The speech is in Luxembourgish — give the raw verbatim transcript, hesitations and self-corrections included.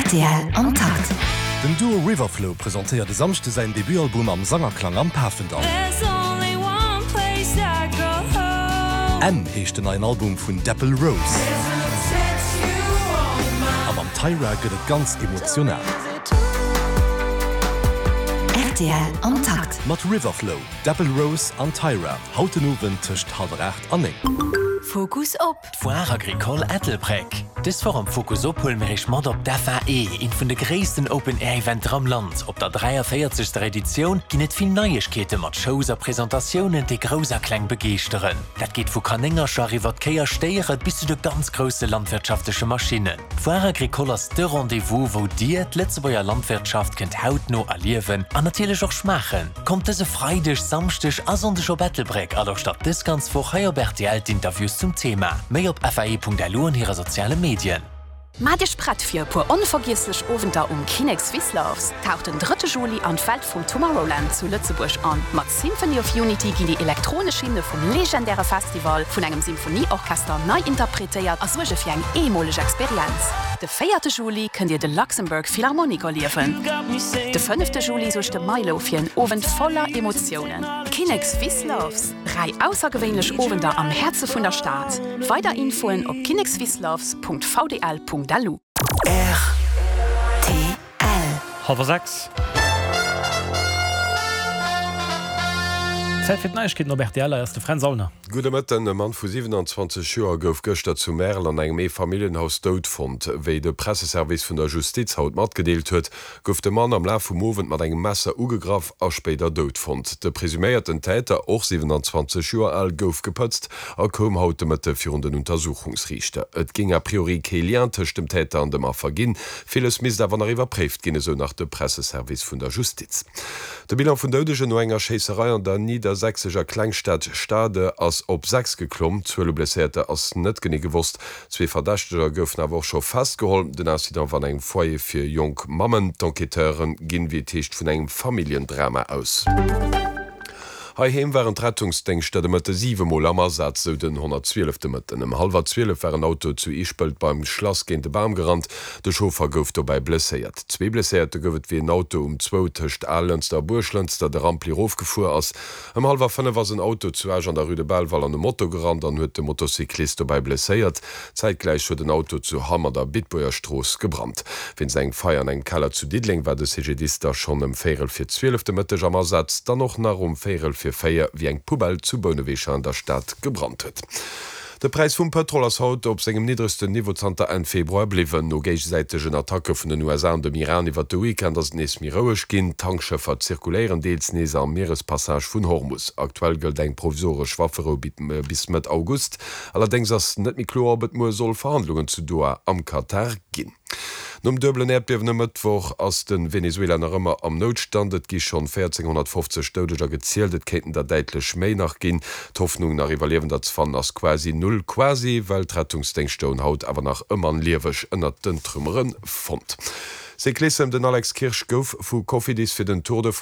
Rtl am Takt. Den Duo Riverflow presentéiert e Samschde säin Debutalbum am Sangerklang am Pafendall. M heescht den neien Album vun Dapple Rose. A mam Tyra gëtt et ganz emotional. Rtl am Takt. Mat Riverflow, Dapple Rose an Tyra, haut den Owend tëscht hallwer aacht an néng. Fokus op. D'Foire Agricole Ettelbréck. Dës Woch am Fokus op huele mir iech mat op d'FAE, eent vun de gréissten Open-Air-Eventer am Land. Op der dräiavéierzegster Editioun ginn et vill Neiegkeete mat Shows a Presentatiounen, déi Grouss a Kleng begeeschteren. Dat geet vu Kanéngercher iwwer Kéi a Stéiere bis zu de ganz grousse landwirtschaftleche Maschinnen. D'Foire Agricole ass de Rendez-vous, wou dir d'Lëtzebuerger Landwirtschaft kënnt hautno erliewen an natierlech och schmaachen. Kommt dëse Freideg, Samschdeg a Sonndeg op Ettelbréck a lauschtert dës ganz Woch hei op rtl d'Interviews zum Thema. Méi op fae.lu an hire soziale Medien. Maacht iech prett fir e puer onvergiesslech Owenter um Kinex Swiss Loves. Taucht den drëtte Juli an d'Welt vum Tomorrowland zu Lëtzebuerg an. Mat Symphony of Unity ginn déi elektronesch Hymne vum legendäre Festival vun engem Symphonieorchester nei interpretéiert a suerge fir eng eemoleg Experienz. De véierte Juli kënnt dir de Luxembourg Philharmonic erliewen. De fënnefte Juli suergt de Milow fir en Owend voller Emotiounen. Kinex Swiss Loves. Dräi aussergewéinlech Owender am Häerze vun der Stad. Weider Infoen op kinexswissloves.vdl.lu. Rtl. Hallwer sechs. Zäit fir d'Neiegkeeten op rtl, hei ass de Fränz Aulner. Gudde Mëtten, E Mann vu siwenanzwanzeg Joer gouf gëschter zu Märel an engem Eefamilljenhaus dout fonnt. Wéi de Presseservice vun der Justiz haut matgedeelt huet, gouf de Mann am Laf vum Owend mat engem Messer ugegraff a spéider dout fonnt. De presuméierten Täter, och siwenanzwanzeg Joer al, gouf gepëtzt a koum haut de Mëtte virun den Untersuchungsriichter. Et géing a priori kee Lien tëscht dem Täter an dem Affer ginn, villes misst awer nach iwwerpréift ginn, esou nach de Presseservice vun der Justiz. De Bilan vun Doudegen no enger Schéisserei an der niddersächsescher Klengstad Stade ass op sechs geklomm. D'Zuel u Blesséierter ass net genee gewosst. Zwee Verdächteger goufen awer och scho festgeholl. Den Incident war an engem Foyer fir jonk Mammen. D'Enquêteure ginn, wéi et heescht, vun engem Familljendrama aus. Heiheem waren d'Rettungsdéngschter de Mëtte siwe Mol am Asaz, sou den honnertzwielef de Mëtten. Ëm hallwer zwielef war en Auto zu Ischpelt beim Schlass géint e Bam gerannt. De Chauffer gouf dobäi blesséiert. Zwee Blesséierte gouf et, wéi en Auto um zwou tëscht Alënster a Buerglënster de Rampli erofgefuer ass. Ëm hallwer fënnef ass en Auto zu Esch an der Rue de Belval an e Moto gerannt an huet de Motocyclist dobäi blesséiert. Zäitgläich huet en Auto zu Hamm an der Bitbuerger Strooss gebrannt. Wéinst engem Feier an engem Keller zu Diddeleng war de C G D I S da schonn ëm véierel vir zwielef de Mëtteg am Asaz, dann och nach um véierel vir véier, wéi eng Poubelle zu Bouneweg an der Stad gebrannt huet. De Präis vum Pëtrol ass haut op sengem niddregsten Niveau zanter Enn Februar bliwwen. No géigesäitegen Attacke vun den U S A an dem Iran iwwert de Weekend ass et nees méi roueg ginn. Tankschëffer zirkuléieren deels nees am Mierespassage vun Hormus. Aktuell gëllt eng provisoresch Wafferou bis Mëtt August. Allerdéngs ass net méi kloer, ob et muer soll Verhandlungen zu Doha am Katar ginn. Nom duebelen Äerdbiewen e Mëttwoch ass de Venezuela nach ëmmer am Noutstand. Et gi schonn véierzénghonnertfofzeg Doudeger gezielt, et kéinten der däitlech méi nach ginn. D'Hoffnung, nach Iwwerliewender ze fannen, ass quasi null. Quasi, well d'Rettungsdéngschter hunn haut awer nach e Mann lieweg ënnert den Trümmere fonnt. Cyclissem, Den Alex Kirsch gouf vu Cofidis fir den Tour de France.